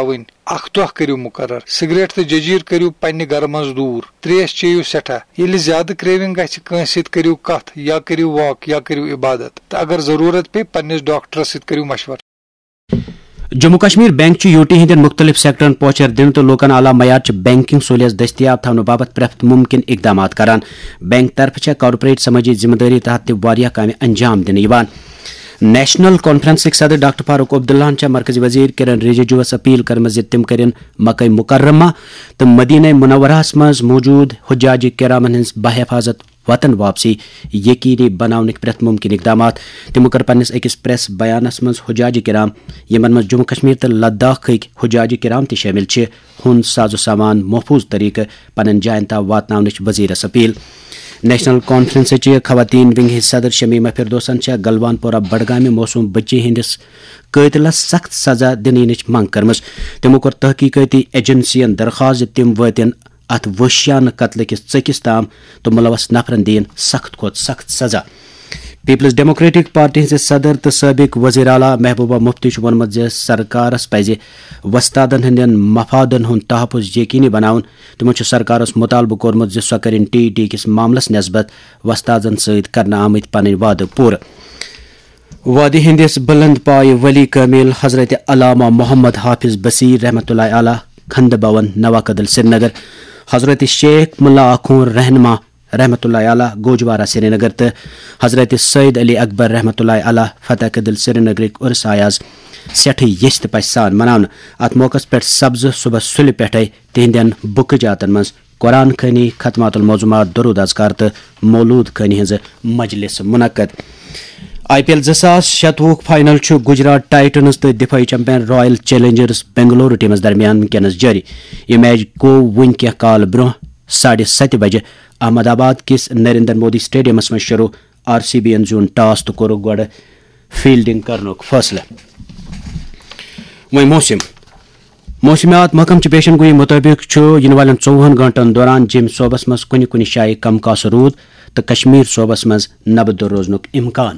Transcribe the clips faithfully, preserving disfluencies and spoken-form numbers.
تھاوٕنۍ۔ اکھ دۄہ کٔرِو مُقرر، سگریٹ تہٕ ججیٖر کٔرِو پننہِ گرٕ منٛز دوٗر، تریش چیٚیِو سٮ۪ٹھاہ۔ ییٚلہِ زیادٕ کریونگ گژھِ، کٲنٛسہِ سۭتۍ کٔرِو کتھ یا کٔرِو واک یا کٔرِو عبادت، تہٕ اگر ضروٗرت پیٚیہِ، پننِس ڈاکٹرس سۭتۍ کٔرِو مشورٕ۔ جموں کشمیر بینک چھُ یوٗ ٹی ہٕنٛدٮ۪ن مُختٔلِف سیکٹرن پوچھر دِنہٕ تہٕ لوٗکن اعلیٰ معیارٕچہِ بینکنگ سہولیژ دٔستیاب تھاونہٕ باپتھ پرٛٮ۪تھ مُمکِن اقدامات کران۔ بینک طرفہٕ چھےٚ کارپوریٹ سمٲجی ذمہٕ دٲری تحت تہِ واریاہ کامہِ انجام دِنہٕ یِوان۔ نیشنل کانفرنسٕکۍ صدر ڈاکٹر فاروق عبداللہَن چھےٚ مرکزی وزیر کِرن رجیجوَس اپیل کٔرمٕژ زِ تِم کٔرِن مکہ مکرمہ تہٕ مدینہ منورہَس منٛز موجود حجاج کرامن ہٕنٛز بحفاظت وطن واپسی یقینی بناونٕکۍ پرٛٮ۪تھ مُمکِن اقدامات۔ تِمو کٔر پننِس أکِس پریس بیانَس منٛز حجاج کرام، یِمن منٛز جموں کشمیر تہٕ لداخٕکۍ حجاج کرام تہِ شٲمِل چھِ، ہُنٛد ساز و سامان محفوظ طریقہٕ پننٮ۪ن جاین تام واتناونٕچ وزیرس اپیل۔ نیشنل کانفرنسٕچہِ خواتین ونگہِ ہٕنٛدۍ صدر شمیمہ فردوسن چھےٚ گلوان پورہ بڈگامہِ معصوم بچی ہٕنٛدِس قٲتلس سخت سزا دِنہٕ یِنٕچ منٛگ کٔرمٕژ۔ تِمو کوٚر تحقیقٲتی ایجنسین درخواست زِ تِم وٲتِن اتھ وحشیانہٕ قتلہٕ کِس ژٔکِس تام تہٕ ملوث نفرن دِیِن سخت کھۄتہٕ سخت سزا۔ پیپلز ڈیموکریٹک پارٹی ہٕنٛزِ صدر تہٕ سٲبق وزیر اعلیٰ محبوبہ مفتی چھُ ووٚنمُت زِ سرکارس پزِ وۄستادن ہٕنٛدٮ۪ن مفادن ہُنٛد تحفظ یقینی بناوُن۔ تِمو چھُ سرکارس مطالبہٕ کوٚرمُت زِ سۄ کٔرِن ٹی ٹی کِس معاملس نسبت وۄستادن سۭتۍ کرنہٕ آمٕتۍ پنٕنۍ وعدٕ پوٗرٕ۔ وادی ہٕنٛدِس بلند پایہِ ولی کٲمِل حضرت علامہ محمد حافظ بصیر رحمتہ اللہ علیہ کھنڈ بھون نوا کدل سرینگر، حضرت شیخ ملا آخون رہنما رحمتہ اللہ علیہ گوجوارہ سرینگر تہٕ حضرت سید علی اکبر رحمتہ اللہ علیہ فتح کدل سرینگرٕکۍ عرس آیہِ از سٮ۪ٹھٕے یژھِ تہٕ پژھِ سان مناونہٕ۔ اتھ موقعس پٮ۪ٹھ سپزٕ صبحس سُلہِ پٮ۪ٹھے تِہنٛدٮ۪ن بُکہٕ جاتن منٛز قرآن خوٲنی، ختمات المعظومات، درود اذکار تہٕ مولود خوٲنی ہٕنٛز مجلس منعقد۔ آئی پی ایل زٕ ساس شتوُہ فائنل چھُ گجرات ٹائٹنز تہٕ دفاعی چیمپئن رائل چیلنجرز بنگلورو ٹیمس درمیان وُنکیٚنس جٲری۔ یہِ میچ گوٚو وُنہِ کینٛہہ کال برٛونٛہہ ساڑِ ستہِ بجہِ احمد آباد کِس نریندر مودی سٹیڈیمس منٛز شروع۔ آر سی بی یَن زیوٗن ٹاس تہٕ کوٚرُکھ گۄڈٕ فیلڈنگ کرنُک فٲصلہٕ۔ وۄنۍ موسم۔ موسمیات محکمہٕ چہِ پیشن گویی مُطٲبِق چھُ یِنہٕ والٮ۪ن ژوٚوُہن گٲنٛٹن دوران جیٚمہِ صوبس منٛز کُنہِ کُنہِ جایہِ کم کاسہٕ روٗد تہٕ کشمیر صوبس منٛز نبہٕ دۄر روزنُک امکان۔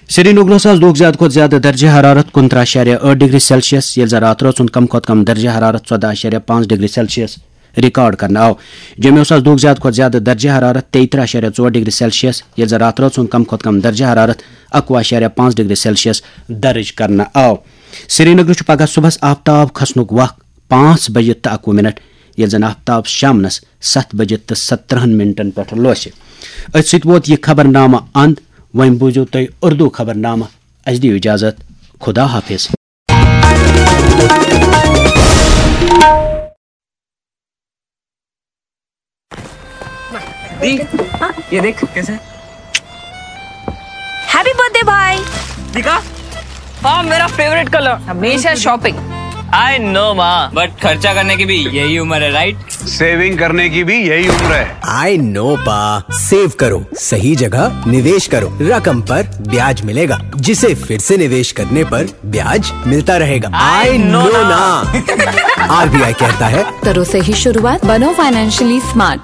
سرینگرس آز دۄہُک زیادٕ کھۄتہٕ زیادٕ درجہ حرارت کُنترٕہ اَشاریہ ٲٹھ ڈگری سیلسیس، ییٚلہِ زن راتھ رٲژ ہُنٛد کم کھۄتہٕ کم درجہ حرارت ژۄدہ اَشاریہ پانٛژھ ڈگری سیلسیس ریکارڈ کرنہٕ آو۔ جیٚمہِ اوس آز دۄہُک زیادٕ کھۄتہٕ زیادٕ درجہ حرارت تیٚیہِ ترٕٛہ اَشاریہ ژور ڈگری سیلسیس، ییٚلہِ زن راتھ رٲژ ہُنٛد کم کھۄتہٕ کم درجہ حرارت اَکوُہ اَشاریہ پانٛژھ ڈگری سیلسیس درج کرنہٕ آو۔ سرینگرٕ چھُ پگہہ صبحس آفتاب کھسنُک وق پانٛژھ بجہِ تہٕ اَکوُہ منٹ، ییٚلہِ زن آفتاب شامنس ستھ بجہِ تہٕ سترٕہن منٹن پٮ۪ٹھ لوسہِ۔ أتھۍ سۭتۍ ووت یہِ خبرنامہٕ اند۔ وۄنۍ بوٗزِو تُہۍ اردو خبرنامہٕ۔ اسہِ دِیِو اجازت۔ خدا حافظ۔ दी, ये देख कैसे। हैप्पी बर्थडे भाई। दिखा, हाँ, मेरा फेवरेट कलर। हमेशा शॉपिंग। आई नो माँ, बट खर्चा करने की भी यही उम्र है, राइट? सेविंग करने की भी यही उम्र है। आई नो पा, सेव करो, सही जगह निवेश करो, रकम पर ब्याज मिलेगा, जिसे फिर से निवेश करने पर ब्याज मिलता रहेगा। आई नो ना। आरबीआई कहता है, करो सही शुरुआत, बनो फाइनेंशियली स्मार्ट।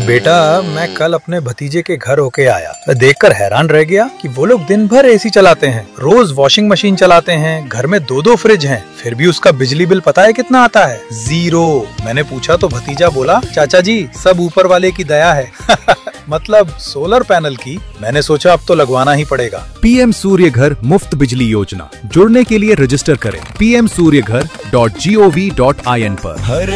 बेटा, मैं कल अपने भतीजे के घर होके आया। मैं देखकर हैरान रह गया कि वो लोग दिन भर एसी चलाते हैं, रोज वॉशिंग मशीन चलाते हैं, घर में दो दो फ्रिज हैं, फिर भी उसका बिजली बिल पता है कितना आता है? ज़ीरो। मैंने पूछा तो भतीजा बोला, चाचा जी, सब ऊपर वाले की दया है। मतलब, सोलर पैनल की। मैंने सोचा, अब तो लगवाना ही पड़ेगा। पीएम सूर्य घर मुफ्त बिजली योजना। जुड़ने के लिए रजिस्टर करें P M Surya Ghar dot G O V dot I N पर। हर